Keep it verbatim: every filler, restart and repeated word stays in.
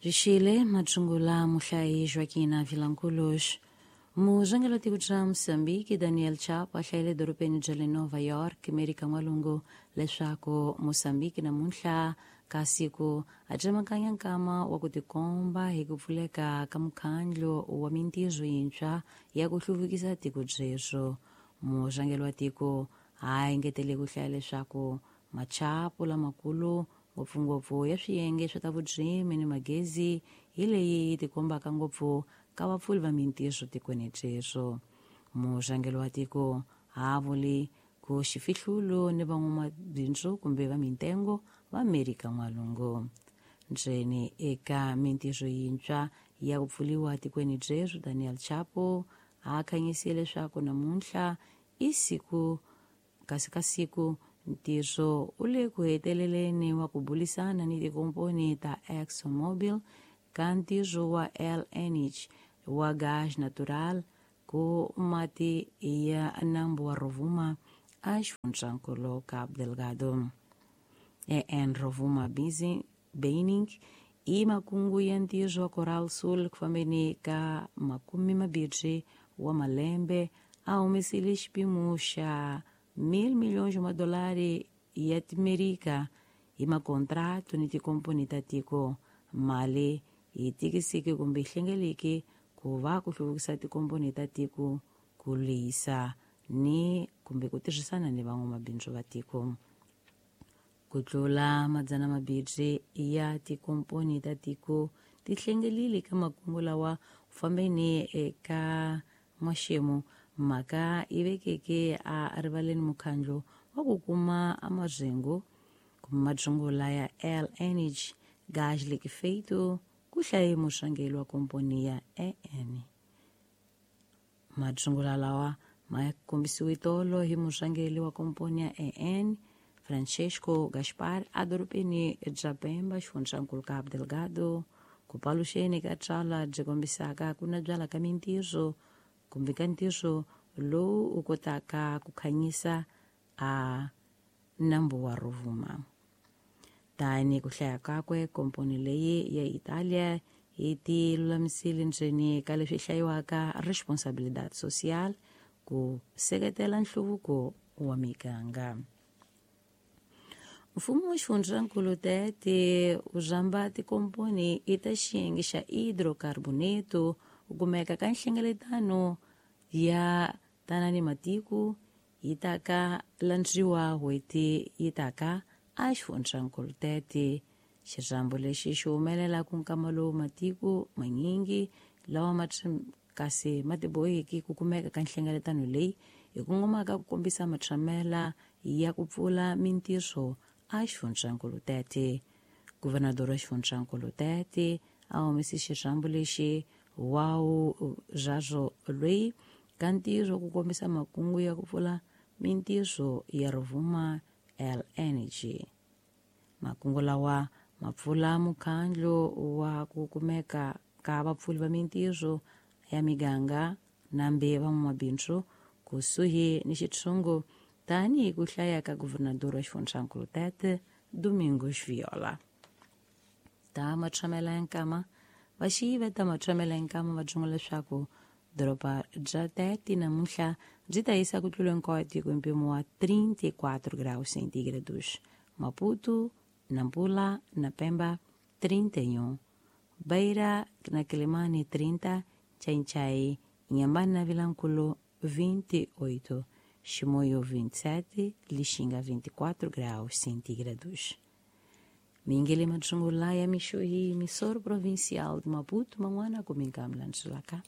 Bzwixile matsungula muhlayi Joaquina Vilanculos. Murhangeri wa tiko ra Mozambique Daniel Chapo a hlayile edorobeni bya le Nova York, Amerika N'walungu, leswaku Mozambique namuntlha ka siku a tsemakanya nkama wa ku tikomba hi ku pfuleka ka mukhandlu wa mintirho yintshwa ya ku hluvukisa tiko byebyo. Murhangeri wa tiko a engetele ku hlaya leswaku machapo lamakulu ngopfungopfu ya swiyenge swa ta vurimi ni magezi hi leyi yi tikombaka ngopfu ka vapfuli va mintirho tikweni byebyo. Murhangeri wa tiko a vuli ku xifihlulo ni van'wamabindzu kumbe va mintengo va Amerika N'walungu. Ndzeni eka mintirho yintshwa ya ku pfuriwa tikweni byebyo, Daniel Chapo a khanyisile leswaku namuntlha i siku kasi ka siku ntirho u le ku heteleleni wa ku burisana ni tikomponi ta ExxonMobil ka ntirho wa L N G wa gas natural ku mati ya nambu wa Rovuma a xifundzankulu Cabo Delgado. E N Rovuma Mining i makungu ya ntirho wa Coral Sul ku fambeni ka makume mambirhi wa malembe a humesile xipimo xa mil milhões de madolari ya Timerika hi makontrato ni tikomponi ta tiko. Mali yi tikisiki kumbe yi hlengeleki ku va ku hluvukisa tikomponi ta tiko ku lehisa ni kumbe ku tirhisana ni van'wamabindzu va tiko. Ku tlula madzana mambirhi ya tikomponi ta tiko ti hlengelile ka makungu lawa ku fambeni eka n'waxemu mhaka yi vekeke a rivaleni mukhandlu wa ku kuma marhengu kumbe madzungula ya L N G gas liquefeito ku hlaye murhangeri wa komponi ya E N. Madzungula lawa ma kombisiwe tolo hi murhangeri wa komponi ya E N Francesco Gaspar edorobeni bya Pemba, xifundzankulu Cabo Delgado, ku paluxeni ka tsalwa byi kombisaka ku nabyala ka mintirho kumbe ka ntirho lowu u kotaka ku khanyisa a nambu wa Rovuma. Tani ku hlaya kakwe, komponi leyi ya Italia yi ti lulamisile ndzeni ka leswi hlayiwaka responsabilidade social ku seketela nhluvuko wa miganga. Mfumo wa xifundzankulu Tete wu rhamba tikomponi i ta xiyenge xa hidrocarboneto ku kumeka ka nhlengeletano ya tanani matiko yi taka landziwa n'hweti yi taka a xifundzankulu Tete. Xirhambo lexi xi humelela ku nkama lowu matiko manyingi lawa ma kasi ma tiboheki ku kumeka ka nhlengeletano leyi hi kongomaka ku kombisa matshamela ya ku pfula mintirho a xifundzankulu Tete. Guvernador wa xifundzankulu Tete a humese xirhambo lexi wawu byazwo loyi ka ntirho ku kombisa makungu ya ku pfula mintirho ya Rovuma L N G. Makungu lawa ma pfula mukhandlu wa ku kumeka ka vapfuli va mintirho ya miganga nambe van'wamabindzu kusuhi ni xitshungu tanihi ku hlaya ka guvernador wa xifundzankulu Tete Domingos Viola. Ta matshamela ya nkama vaxiyi va ta matshamela ya nkama va byin'we leswaku doroba bya Tete namuntlha byi ta yisa ku tlula hinkwayo tiko hi mpimo wa trinta e quatro graus centígrados. Maputo, Nampula na Pemba trinta e um, Beira na Quelimane trinta, Xai-Xai, Inhambane na Vilanculo vinte e oito, Chimoio vinte e sete, Lixinga vinte e quatro graus centígrados. Mingele Madzungula ya Mixuí, emissora provincial de Maputo, Manguana, Comincam, Lanchulacá.